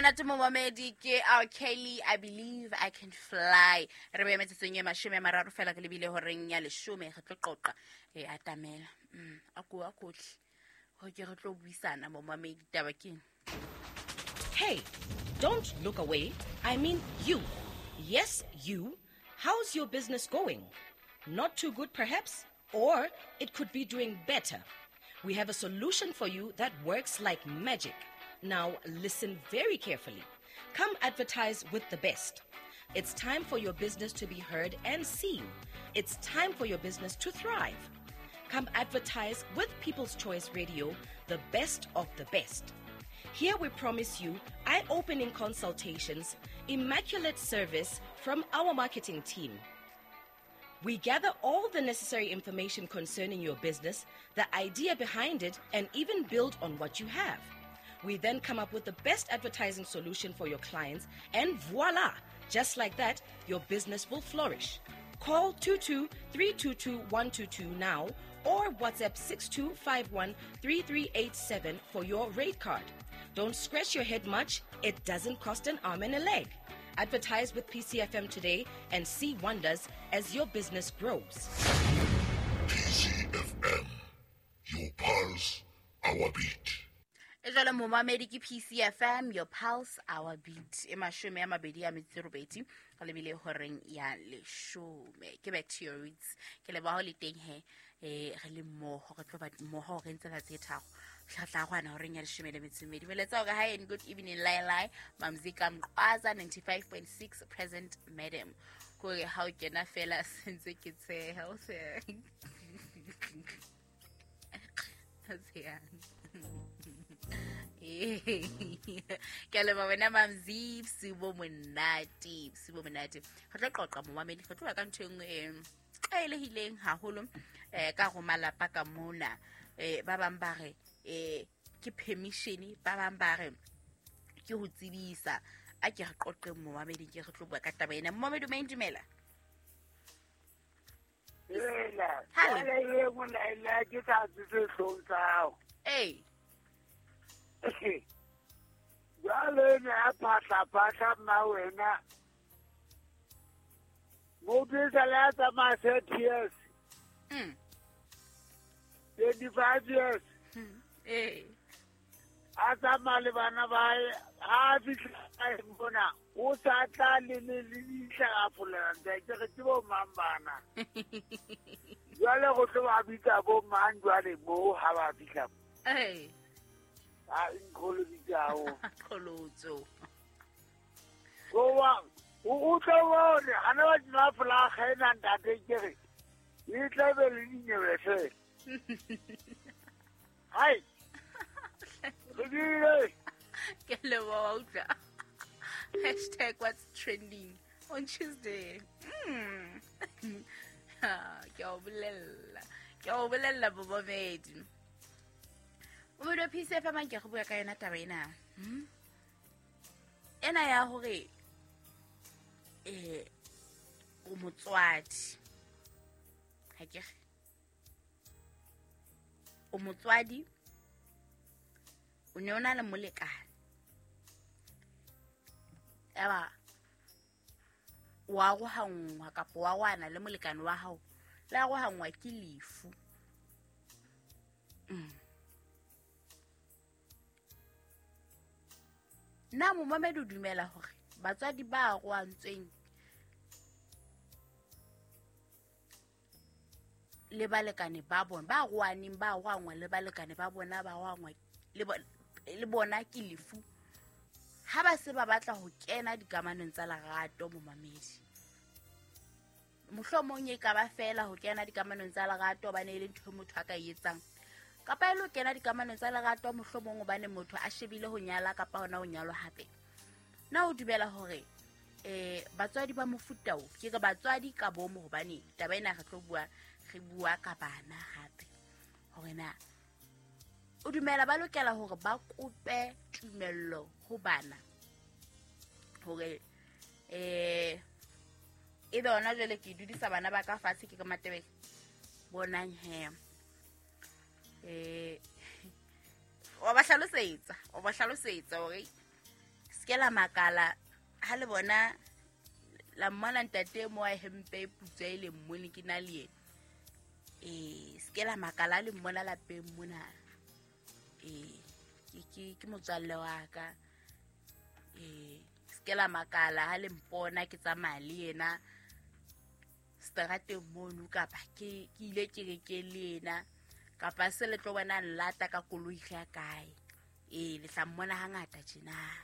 Monate momamedi ke our Kelly, I believe I can fly. Re be metsotsong e 30 fela re lebile horeng ya 10 re tlo qoqa e atamela. A ko a kotle. Ho ke re tlo buisana momamedi taba ke. Hey, don't look away. I mean you. Yes, you. How's your business going? Not too good perhaps? Or it could be doing better. We have a solution for you that works like magic. Now, listen very carefully. Come advertise with the best. It's time for your business to be heard and seen. It's time for your business to thrive. Come advertise with People's Choice Radio, the best of the best. Here we promise you eye-opening consultations, immaculate service from our marketing team. We gather all the necessary information concerning your business, the idea behind it, and even build on what you have. We then come up with the best advertising solution for your clients, and voila! Just like that, your business will flourish. Call 22-322-122 now or WhatsApp 6251-3387 for your rate card. Don't scratch your head much. It doesn't cost an arm and a leg. Advertise with PCFM today and see wonders as your business grows. PCFM, your pulse, our beat. E jwale momamedi ke PCFM, your pulse, our beat. E 28 re lebile horeng ya 10. Ke back to your roots. Ke leboha ho le teng he re le mmoho, re tlo ba mmoho re ntse tse tharo. Tla gwana horeng ya 12. Meletsa hore hi and good evening Lai Mamzika Mqwaza 95.6 present madam. Kore ha o kena fela sentse ke tsheha o se. Ke leboha wena Mamzi, sibo monate, sibo monate. Re tlo qoqa momamedi, re tlo bua ka ntho e nngwe e tlwaelehileng haholo ka ho malapa ka mona. Ba bang ba re ke permission, ba bang ba re ke ho tsebisa. A ke re qoqe momamedi, ke re tlo bua ka taba ena. Momamedi o dumela. Ela, le mona ke tsa tse hlong tsa hao. Ee. Jwale ne a phahla mma wena. Motho e sale a tsamaya 30 years. 25 years. Ee. A tsamaya le bana ba hae, ha a fihla mona, o sa tla le le leihla a folela ntate, ke re ke bo mang bana. Jwale go tlo ba bitsa bo mang jwale moo ha ba fihla. Ee. A nkholoditse. Kholotso. Go wa o tlo bone ha na ba tsena folaga ena ntate ke re e tla be le dinyewe fela. Hai. Re Ke leboha utlwa. Hashtag what's trending on Tuesday. Ke o bolella. Ke o bolella bobomedi. O mo PCFM ke go bua ka yona taba ena. Ena ya hore o motswadi. Ha ke re. O motswadi o ne o na le molekane. Eba wa arohanngwa kapa wa wana le molekane wa hao, le arohanngwa ke lefu. Na momamedi o dumela hore batswadi ba arohantsweng le balekane ba bona, ba arohaneng ba arohanngwa le balekane ba bona ba arohanngwa le bona ke lefu, ha ba se ba batla ho kena dikamanong tsa lerato momamedi, mohlomong e ka ba fela ho kena dikamanong tsa lerato hobane e le ntho motho a ka e etsang, kapa e lo kena dikamanong tsa lerato mohlomong hobane motho a shebile ho nyala kapa hona ho nyalwa hape. Na o dumela hore batswadi ba mofuta o, ke re batswadi ka bomo hobane taba ena re tlo bua, re bua ka bana hape, hore na o dumela ba lokela hore ba kope tumello ho bana hore e be hona jwale ke dudisa bana ba ka fatshe ke ka Matebele bonang he wa ba hlalosetsa hore Se ke la makala ha le bona la mmona ntate mo a hempe e putswa e le mmone ke na le yena. Se ke la makala le mmona lapeng mona. Ke motswalle wa ka. Se ke la makala ha le mpona ke tsamaya le yena strateng mono, kapa ke ile kerekeng le yena, kapa se le tlo bona nlata ka koloi ya kae. Le tla mmona hangata tjena.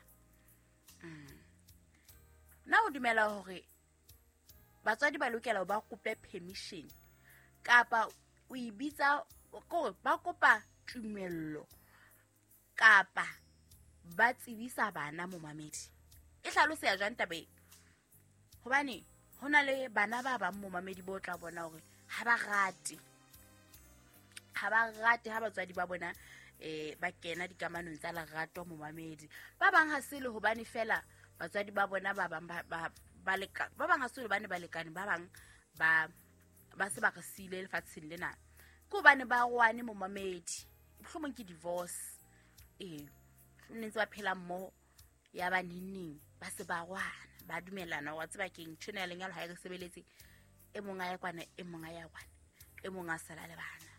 Nna o dumela hore batswadi ba lokela ho ba kope permission, kapa o e bitsa kore ba kopa tumello, kapa ba tsebisa bana momamedi? E hlaloseha jwang taba e? Hobane ho na le bana ba bang momamedi bo tla bona hore ha ba rate ha batswadi ba bona ba kena dikamanong tsa lerato momamedi. Ba bang ha se le hobane fela batswadi ba bona ba bang ba bang ha se hobane balekane ba bang ba se ba re siile lefatsheng lena, ke hobane ba rwane momamedi, mohlomong ke divorce. Ne ntse ba phela mmoho ya ba neng ba se ba rwana, ba dumelana wa tseba keng ntho ena ya lenyalo ha e re sebeletse, e mong a ya kwana, e mong a ya kwana, e mong a sala le bana.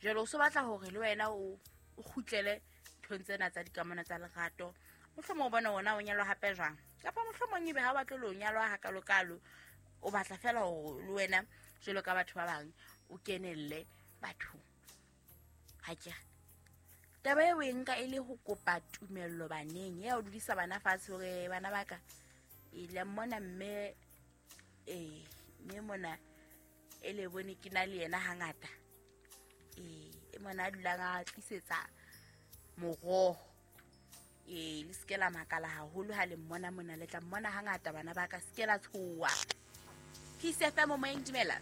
Jwale o so batla hore le wena o kgutlele nthong tsena tsa dikamano tsa lerato, mohlomong o bone wona o nyalwa hape jwang, kapa mohlomong ebe ha o batle le ho nyalwa hakalokalo, o batla fela hore le wena jwalo ka batho ba bang o kenelle bathong. Ha ke re taba eo e nka e le ho kopa tumello baneng, ya o dudisa bana fatshe hore bana ba ka e le mmona mme mme mona e le bone ke na le yena hangata. E mona a dulang a tlisetsa moroho. Le se ke la makala haholo ha le mmona mona, le tla mmona hangata bana ba ka, se ke la tshoha. Peace FM moyeng, dumela.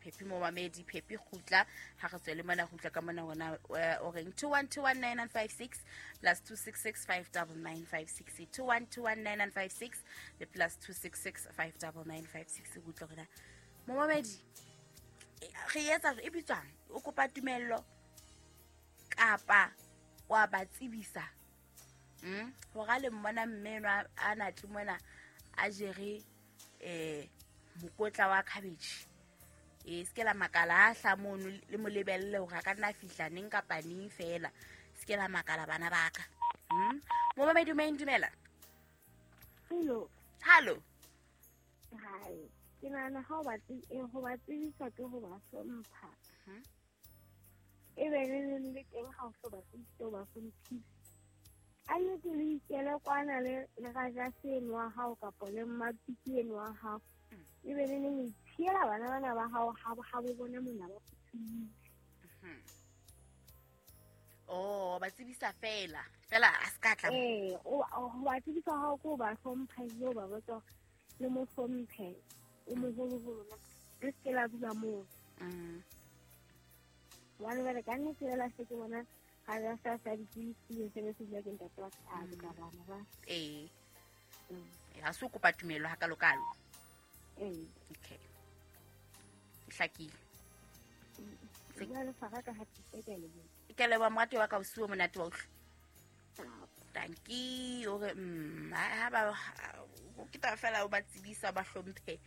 Phepi momamedi, Phepi kgutla ha re tswele mona, kgutla ka mona hona o reng 21219956 plus 266599956, 21219956 le plus 266599956. Kgutla hona momamedi, re etsa e bitswang o kopa tumello kapa wa ba tsebisa hore le mmona mme enwa a na tle mona a jere mokotla wa cabbage. Se ke la makala a hla mono le mo lebelle hore a ka nna fihla neng kapa neng fela. Se ke la makala bana ba ka. Momamedi o dumela. Hello. Hello. Hi. Ke nahana ha o ba tsebisa ke ho ba hlompha. E be le teng ha o so ba tsebisa o ba hlomphise. A nnete le ikele kwana le raja seno wa hao kapa le mmapiki eno wa hao. E be le neng itshiela bana bana ba hao ha bo bona mona ba phuthile. Oh, ba tsebisa fela. Fela a se ka tla. O ba tsebisa hao ko ba hlompha le o ba botsa le mo hlomphe. O moholoholo le se ke la dula moo. Hobane jwale ka nnete fela se ke bona ga ya sa sa ditsebisitse se be se bua ke ntate wa ka ka bana ba. Ha se o kopa tumelo hakalokalo. Okay. Hlakile. Jwale fara ka hatise ke le. Ke leboha morati wa ka, o siwe monate wa utlwa. Tanki hore ha ba ke taba fela o ba tsebisa ba hlomphe,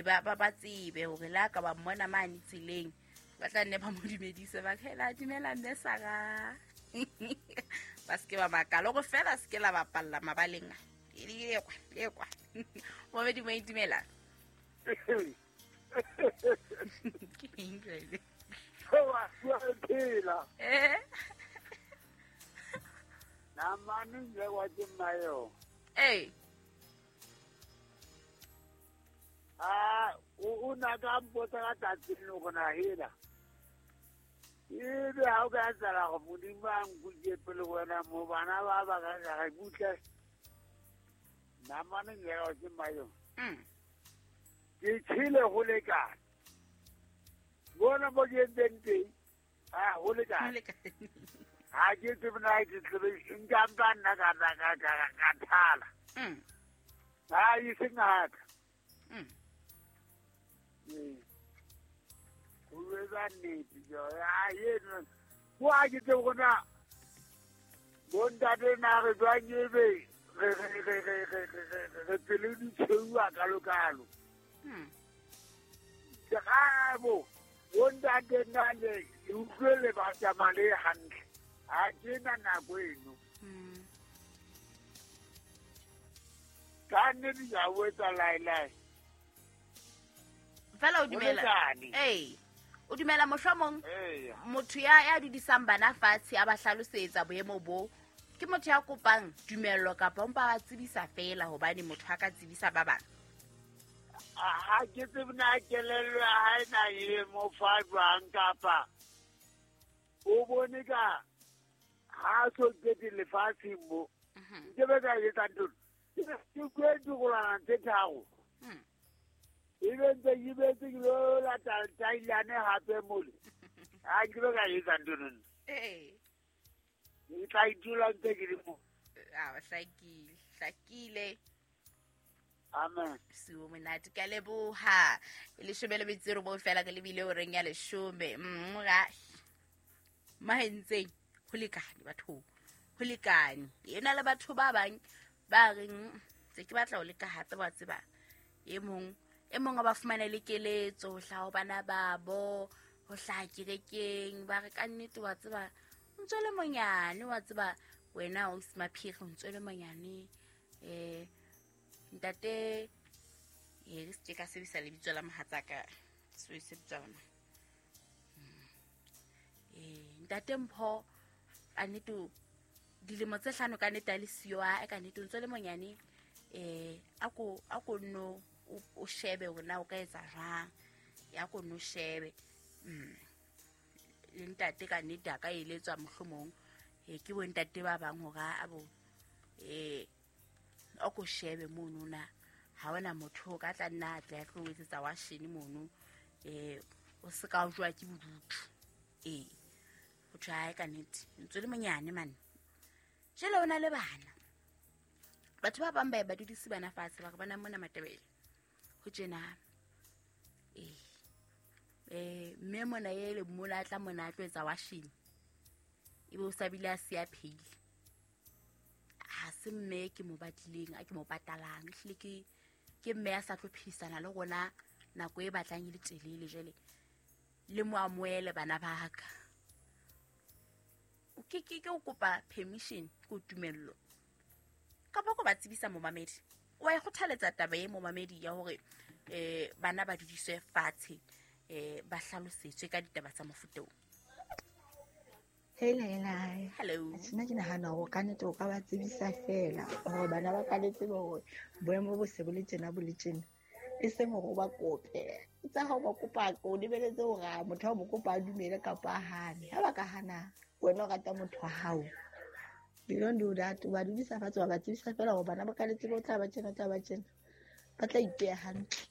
ba tsebe hore la ka ba mmona mane tseleng ba tla nne ba mo dumedise ba hela dumela mme Sara. Ba se ke ba makala hore fela se ke la bapalla mabaleng a le kwa. Momedi mo dumela. Ke eng jwale? Wa phela. Namane nje wa ke mayo. O na ka mpotsa ka tsatsi le gona hela. Ebe ha o ka tsala go Modimo a nkutse pele wena mo bana ba ba ka ga butle. Namane nje wa ke mayo. Ke tshile go lekana. Bona mo ke entseng teng. Go lekana. Ha ke tsebe na ke tsebe nka mpa nna ka thala. Ha e se ngaka. Ho etsa nnete jo. Ha eno. Ho a ke tsebe gona Bontate na re jwang ebe re pelo di tshweu kalo-kalo. Ke gabo bontate nna le utlwele ba tsamaya le hantle. Ha ke na nako eno. Ka nnete ke a o etsa laelae. Fela o dumela. Ee. O dumela mohlomong motho ya dudisang bana fatshe a ba hlalosetsa boemo bo ke motho ya kopang tumello kapa mpa ba tsebisa fela hobane motho a ka tsebisa ba bang. Ha ke tsebe na kelello ya hae na e mo fa jwang kapa o bone ka ha so kete lefatsheng mo. Nke be ka etsa ntho. Ke kwetse golana tse tharo. Ebe ntse ke betse ke lo lata tailane hape mole. Ha ke be ka etsa ntho nna. Ee. Ke tla itula ntse ke le mo. Ah, hlakile. Amen. Siwo monate ka leboha. 19 fela ke lebile o reng ya 10. Ga mahentseng ho lekane batho. Ho lekane. Ena le batho ba bang ba reng tse ke batla ho leka hape ba tseba. E mong a ba fumane le keletso ho hlaha bana babo, ho hlaha kerekeng, ba re ka nnete wa tseba o ntse le monyane wa tseba wena o se maphiri o ntse le monyane ntate e se ka sebedisa lebitso la mohatsaka se se bitswa ntate Mpho ka nnete dilemo tse 5 ka nnete a le siyo a ka nnete o ntse le monyane a ko no o shebe hore na o ka etsa jwang ya ko no shebe le ntate ka nnete a ka eletswa mohlomong ke bo ntate ba bang hore a bo o ko shebe mono na ha ona motho o ka tla nna a tla tlo etsetsa wa shene mono o se ka o jwa ke bodutu o tjha ka nnete ntse le monyane mane jele ona le bana batho ba bang ba dudisi bana fatshe ba re bana mona Matebele ho tjena mme mona ele mona tla mona a tlo etsa washing ebe o sabile a siya phele ha se mme ke mo batlileng a ke mo patalang ehlile ke mme a sa tlo phisana le rona nako e batlang e le telele jele le mo amoele bana ba ka o ke o kopa permission ko tumello kapa ko ba tsebisa momamedi wa e kgothaletsa taba e momamedi ya hore bana ba dudiswe fatshe ba hlalosetswe ka ditaba tsa mofuta o. Hey Laila. Hello. Nna ke nahana hore ka nnete o ka ba tsebisa fela hore bana ba ka le tsebe hore boemo bo se bo le tjena bo le tjena. E seng hore o ba kope. Tsa ha o ba kopa o lebeletse hore motho a mo kopa a dumele kapa a hane. Ha ba ka hana wena o rata motho wa hao. You don't do that. Ba dudisa fatshe ba tsebisa fela hore bana ba ka le tsebe o tla ba tjena tla ba tjena. Ba tla ipeha hantle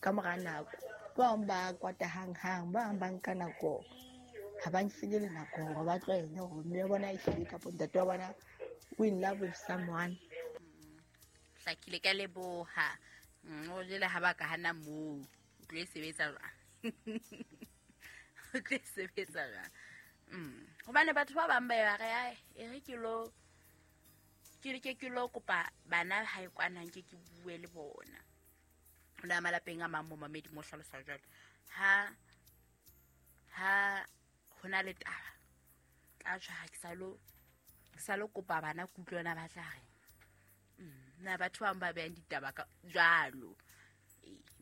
ka mora nako. Ba bang ba kwata hang-hang, ba bang ba nka nako. Ha ba nsile le nako hore ba tlwaele hore mme wa bona e hlile kapa ntate wa bona o in love with someone. Hlakile ka leboha. O jele ha ba ka hana moo. O tlo e sebetsa jwang? O tlo e sebetsa jwang? Hobane batho ba bang ba ba re e re ke lo ke lo kopa bana ha e kwana nke ke bue le bona. Ona malapeng a mang mo mamedi mo hlalosa jwalo. Ha hona le taba tla tjha ha ke sa lo kopa bana kutlwana ba tla re na batho ba ba beang ditaba ka jwalo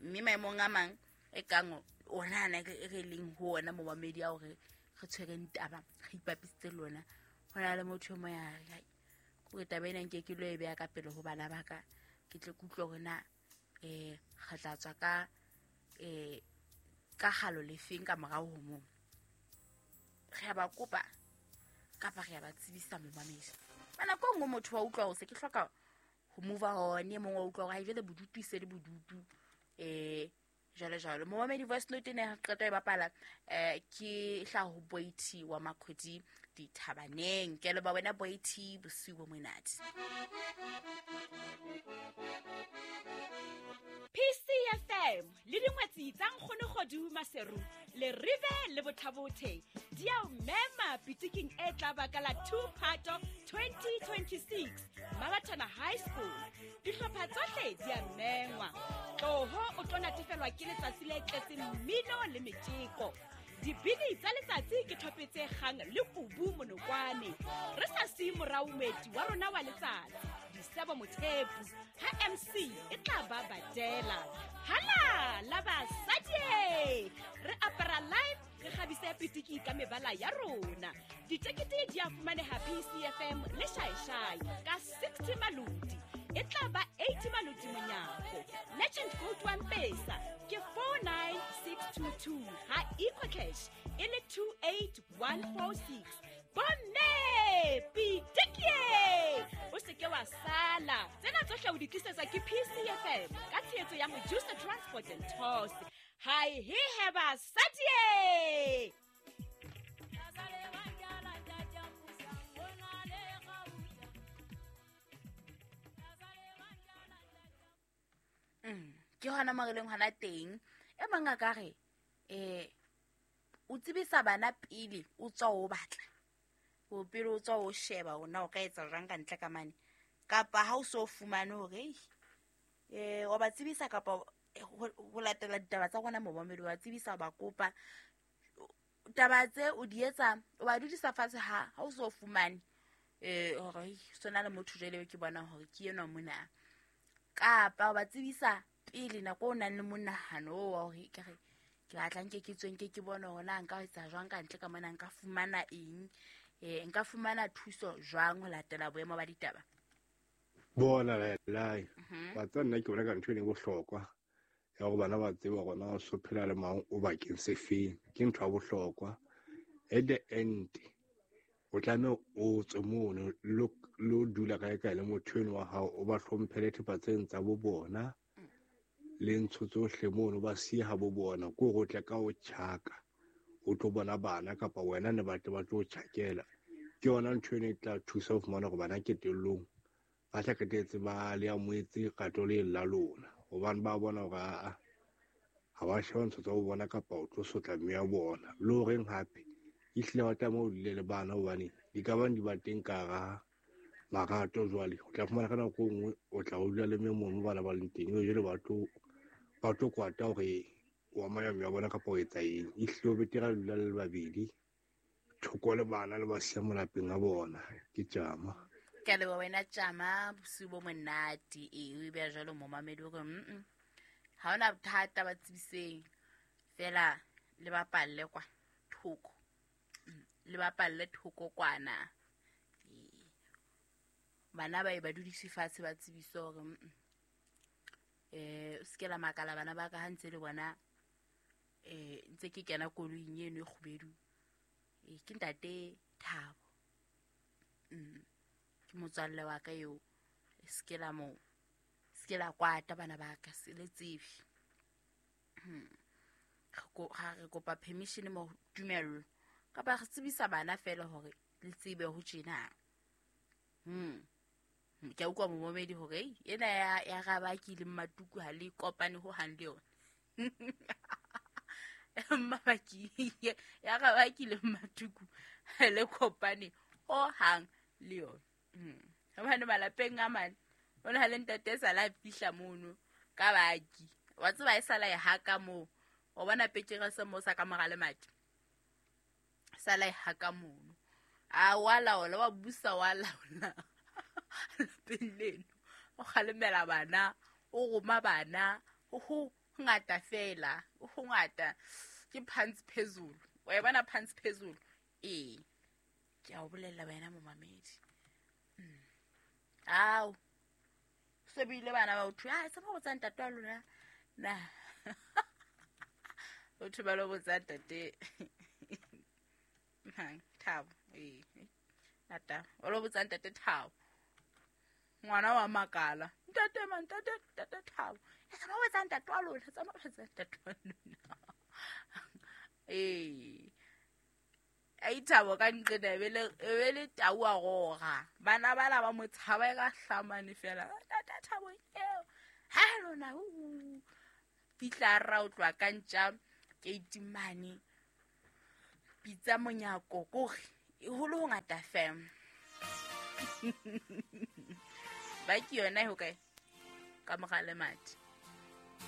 mme maemong a mang e kang ona na re leng ho ona mo mamedi a hore re tshwereng taba re ipapisitse lona hona le motho mo ya re ke taba ena nke ke lo e beya ka pele ho bana ba ka ke tle kutlwe hore na re tla tswa ka ka halo lefeng ka morao ho moo re a ba kopa kapa re a ba tsebisa momamedi. Bana ko nngwe motho wa utlwa hore se ke hloka ho move on, e mong wa utlwa hore ha jwale bodutu se le bodutu jwalo jwalo. Momamedi voice note ene re qeta e bapala ke hlaha ho Boity wa Makhodi Dithabaneng. Ke le ba wena Boity bosiu bo monate. PCFM PCFM le dingwetsi tsa Nkgono Kgodu Maseru le Rive le Bothabothe di a o mema pitiking e tla baka la 2 Phato 2026 Mabathana High School. Dihlopha tsohle di a mengwa. Tloho o tlo natefelwa ke letsatsi le tletseng mmino le metjeko. Dibini tsa letsatsi ke thope tse kgang le kubu monokwane. Re sa siye morao moeti wa rona wa letsatsi, Disebo Mothepu, ha MC e tla ba badela. Hala la basadi! Re apara live, re kgabise pitiki ka mebala ya rona. Ditekete di a fumaneha PCFM le Shaeshai ka 60 maloti. E tla ba 80 maloti monyako. Legend Gold wa Mpesa ke 49622 ha EcoCash e le 28146. Bomme pitikie! O se ke wa sala. Tsena tsohle o di tlisetswa ke PCFM ka tshehetso ya Mojusa Transport and Tours. Hai he he basadi! Ke hona mo re leng hona teng. E mang a ka re o tsebisa bana pele o tswa o batla, o pele o tswa o sheba hore na o ka etsa jwang ka ntle ka mane, kapa ha o so fumane hore wa ba tsebisa kapa ho latela ditaba tsa rona momamedi, wa tsebisa ba kopa taba tse o di etsa, o ba dudisa fatshe ha o so fumane hore sona le motho jwale ke bona hore ke enwa mona, kapa o ba tsebisa pele nako o nang le monahano wa hore ke re ke batla nke ke tswe nke ke bone hore na nka etsa jwang ka ntle ka mona, nka fumana eng, nka fumana thuso jwang ho latela boemo ba ditaba. Bona lai ba tsa nna ke bona ka ntho e leng bohlokwa ya hore bana ba tsebe hore na o so phela le mang o bakeng se feng, ke ntho ya bohlokwa. At the end o tlameha o tswe mono lo dula kae kae le motho eno wa hao, o ba hlomphele thepa tseng tsa bo bona le ntsho tsohle mono ba siye ha bo bona, ke hore o tle ka o tjhaka o tlo bona bana kapa wena ne batle ba tlo tjhakela. Ke yona ntho eno e tla thusa ho fumana hore bana qetellong ba tla qetetse ba le amohetse rato le la lona, hobane ba bona hore aa ha ba sheba ntho tsa ho bona kapa o tlo sotla mme ya bona. Le horeng hape ehlile ba tlameha o dule le bana, hobane di ka bang di ba teng ka hara marato. Jwale o tla fumana ka nako e nngwe o tla o dula le mme mono bana ba leng teng, jwale ba tlo kwata hore wa maya mme ya bona kapa o etsa eng. Ehlile o betere a dula le babedi thoko le bana le ba siya molapeng a bona. Ke tjama. Ke a leboha wena tjama, bosiu bo monate. O e beha jwalo momamedi hore ha hona bothata ba tsebiseng fela le bapalle kwa thoko, le bapalle thoko kwana. Bana ba e ba dudise fatshe ba tsebise hore o se ke la makala bana ba ka ha ntse le bona ntse ke kena koloing eno e kgubedu. Ke ntate Thabo, ke motswalle wa ka eo, se ke la mo se ke la kwata bana ba ka, se le tsebe. Ha re kopa permission mo tumello kapa re tsebisa bana fela hore le tsebe ho tjena. Ke a utlwa momamedi hore ena ya Rabaki le Mmatuku ha le kopane ho hang le yona. Mmabaki ya Rabaki le Mmatuku ha le kopane ho hang le yona. Hobane malapeng a mane o na le ntate sa la fihla mono ka baki, wa tseba e sala e haka moo, o bona pekere se mo sa ka mora lemati sala e haka mono, a wa laola wa busa wa laola lapeng leno, o kgalemela bana, o roma bana, ho ngata fela, ho ngata ke pants phezulu, wa e bona pants phezulu. Ke a o bolella wena momamedi. Ao se bile bana ba o thwe a se ba botsa ntate wa lona na o thwe ba lo botsa ntate mang Thabo, ata o lo botsa ntate Thabo, ngwana wa makala ntate man ntate ntate Thabo, e tsamaya o botsa ntate wa lona, tsamaya o botsa ntate wa lona. Ai Thabo ka nqena e be le tau a roga, bana bana ba mo tshaba e ka hlamane fela, ntate Thabo eo ha lona Fihla ra o tloha ka ntja keiti mane, pitsa monyako, kore ho le hongata fam. Ba ke yona e hokae? Ka mora lemati.